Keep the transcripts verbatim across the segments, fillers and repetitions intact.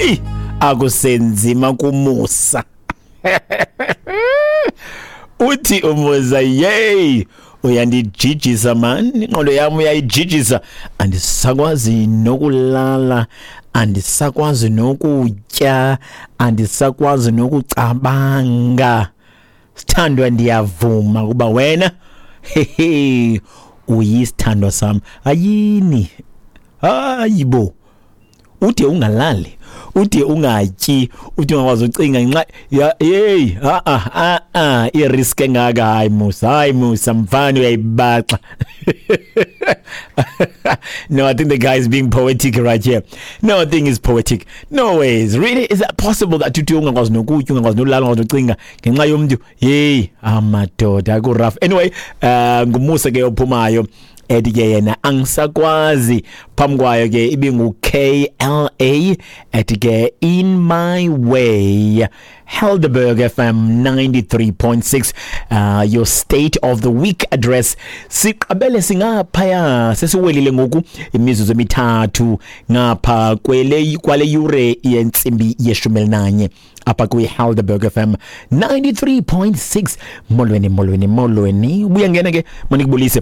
Hey, akusenzima kuMusa. Uthi uMusa, yey, uyandijijisa man, ingqondo yami uyayijijisa, andisakwazi nokulala, andisakwazi nokutya, andisakwazi nokucabanga. Sithandwa, ndiyavuma kuba wena hehe uyisithandwa sami. Ayini, hayibo, ude ungalali, ude ungatyi, ude ungakwazi ucinga ngenxa hey, a a a i-risk engaka. Hayi Musa, hayi Musa mfana, uyayibaxa. No, I think the guy is being poetic right here. No, I think it's poetic. No ways. Really, is that possible that uthi ungakwazi nokutya, ungakwazi nolala, ungakwazi nocinga ngenxa yomntu? Hey, amadoda ku rough. Anyway, uh, nguMusa ke ophumayo ethi ke yena angisakwazi. Phambi kwayo ke ibingu K L A ethi ke In My Way. Helderberg F M ninety-three point six, uh, your state of the week address. Siqabele singaphaya, sesiwelile ngoku imizuzu emithathu ngapha kwele kwale yure yentsimbi yeshumi elinanye apha kwi Helderberg F M ninety-three point six. Molweni, molweni, molweni. Ubuya ngena ke manikubulise.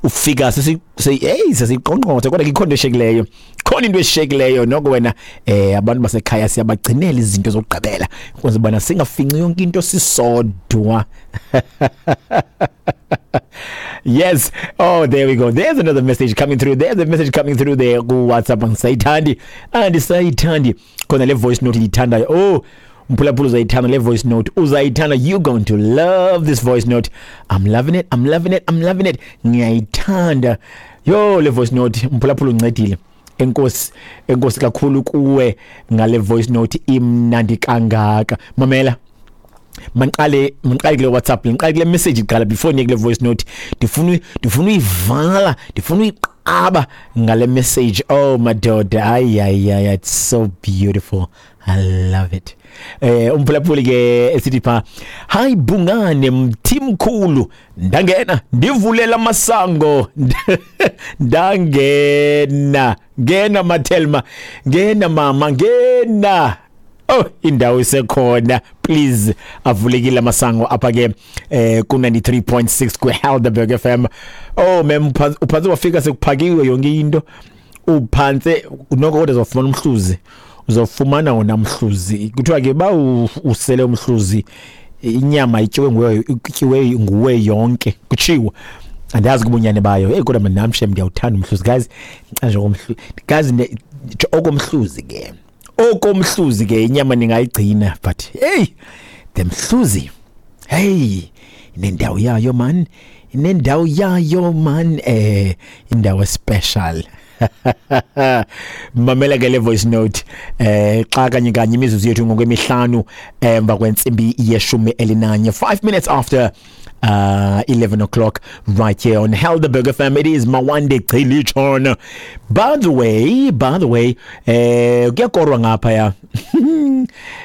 Ufika sesi hey sesiqonqothe, kodwa ikhona into eshekileyo, khona into eshekileyo noko wena. Eh abantu basekhaya siyabagcinela izinto zokugqibela ukuze bana singafinci yonke into sisodwa. Yes, oh there we go, there's another message coming through, there's a message coming through there ku WhatsApp. Angisayithandi, andisayithandi khona le voice note ndiyithandayo. Oh mphulaphula, uzayithanda le voice note, uzayithanda. You're going to love this voice note. I'm loving it, I'm loving it, I'm loving it. Ngiyayithanda yo le voice note. Mphulaphula uncedile, enkosi, enkosi kakhulu kuwe ngale voice note imnandi kangaka. Mamela, manqale manqale kule WhatsApp, ngiqale kule message iqala before niye kule voice note. Ndifuna ndifuna uyivala, ndifuna uyiqaba ngale message. Oh madoda, ay ay ay, it's so beautiful, I love it. Eh umphulaphuli ke esithi pha, hayi Bungane mthimkhulu, ndangena ndivulela amasango, ndangena ngena Mathelma, ngena mama, ngena. Oh, indawo isekhona, please, avulekile amasango apha ke eh ku ninety-three point six ku Helderberg F M. Oh mem, uphansi wafika sekuphakiwe yonke into, uphansi noko kodwa uzofumana umhluzi, uzofumana wona umhluzi. Kuthiwa ke ba usele umhluzi, inyama ityiwe nguwe, ityiwe nguwe yonke, kutshiwo. Andazi kubunyane bayo. Hey kodwa mina namshe ndiyawuthanda umhluzi guys, nje okomhluzi guys, okomhluzi ke, okomhluzi ke inyama ningayigcina, but hey the mhluzi, hey inendawo yayo man, inendawo yayo man, eh indawo special. Mamela ke le voice note eh xa kanye kanye imizuzu yethu ngokwemihlanu emva kwentsimbi yeshumi elinanye, five minutes after uh eleven o'clock right here on Helderberg F M. It is Mawande Chilichon. By the way, by the way, eh kuyakorwa ngapha ya.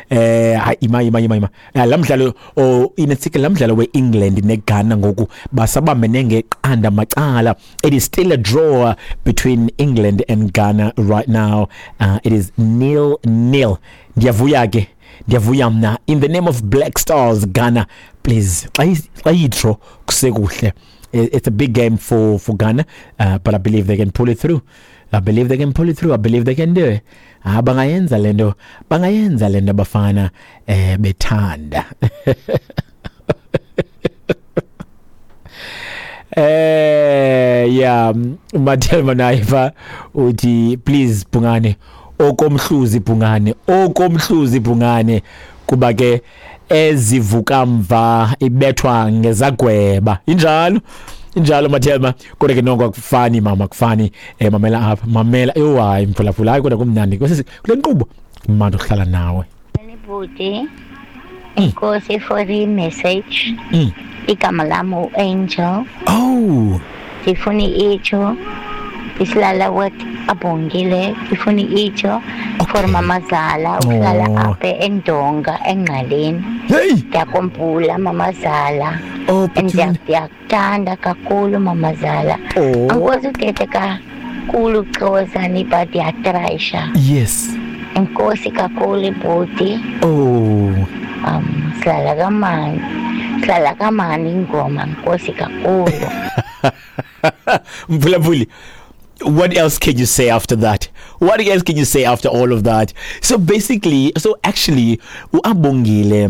Eh ima ima ima ima lamdlalo o inetsike lamdlalo weEngland neGhana ngoku basabambene ngeqanda macala. It is still a draw between England and Ghana right now. Uh, it is nil nil. Ndiyavuya ke, ndiyavuya mna in the name of Black Stars Ghana, please xa i-draw kusekuhle. It's a big game for for Ghana, uh, but I believe they can pull it through. I believe they can pull it through. I believe they can do it. Ah, bangayenza lento, bangayenza lento bafana eh bethanda. Eh yeah, Mathelma Naifa uthi please Bungane, okomhluzi Bungane, okomhluzi Bungane, kuba ke ezivuka mva ibethwa ngezagweba. Injalo, injalo Mathelma, kodwa ke noko akufani mama, akufani. Eh mamela apha, mamela. Eyo hayi mphulaphula, hayi kodwa kumnandi kule nkqubo manje ukuhlala nawe. Bhuti, enkosi for the message. Igama lam uAngel. Oh, ndifuna itsho isilala with Abongile, ndifuna itsho for mamazala uhlala apha eNdonga eNgqaleni. Hey, ndiyakumbula mamazala. Oh, ndiyakuthanda kakhulu mamazala. Angikwazi uthetha kakhulu Xhosa but ndiyatrayisha. Yes. Enkosi kakhulu bhuti. Oh. Um sihlala kamani. Sihlala kamani ingoma enkosi kakhulu. Mphulaphuli, what else can you say after that? What else can you say after all of that? So basically, so actually, uAbongile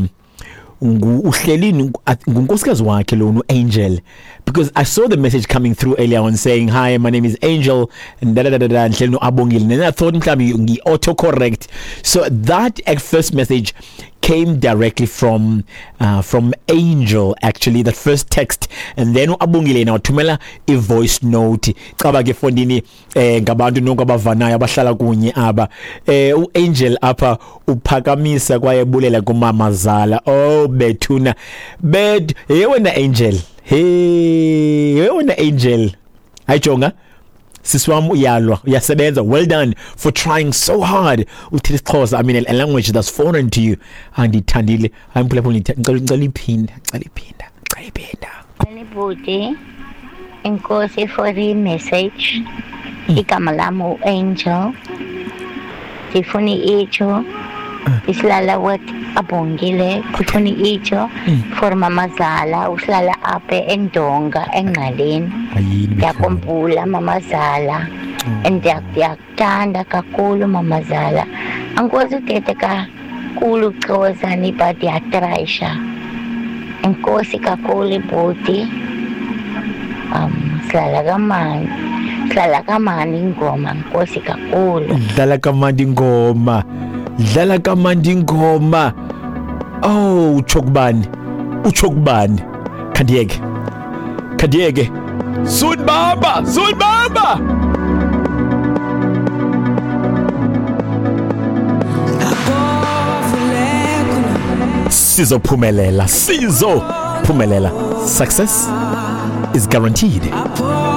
uhleli ngunkosikazi wakhe lo Angel, because I saw the message coming through earlier on saying, hi, my name is Angel and da da da da da, ndihleli noAbongile, and then I thought mhlawumbi ngi-auto correct. So that at first message came directly from uh, from Angel, actually, that first text, and then uAbongile yena wathumela i voice note. Caba ke fondini eh ngabantu nonke abavanayo abahlala kunye aba, eh uAngel apha uphakamisa kwaye bulela kumamazala. Oh bethuna bed, hey wena Angel, hey wena Angel, ayijonga sisi wam uyalwa, uyasebenza. Well done for trying so hard uthetha isiXhosa. I mean, a language that's foreign to you. Andithandile. Hayi mphulaphuli, ngicela ngicela iphinda, ngicela iphinda, ngicela iphinda. Bhuti, enkosi for the message. Igama lam uAngel. Ndifuna itsho isilala with Abongile. Ndifuna itsho for mamazala uhlala apha eNdonga eNgqaleni. Ndiyakhumbula mamazala and ndiyakuthanda kakhulu mamazala. Angikwazi uthetha kakhulu Xhosa but ndiyatrayisha. Enkosi kakhulu bhuti. Um sihlala kamani. Sihlala kamani ingoma enkosi kakhulu. Dlala kamandi ingoma. Dlala kamandi ingoma. Oh, utsho kubani? Utsho kubani? Khandiyeke. Khandiyeke. Sunbamba, sunbamba. Sizophumelela, sizophumelela. Success is guaranteed.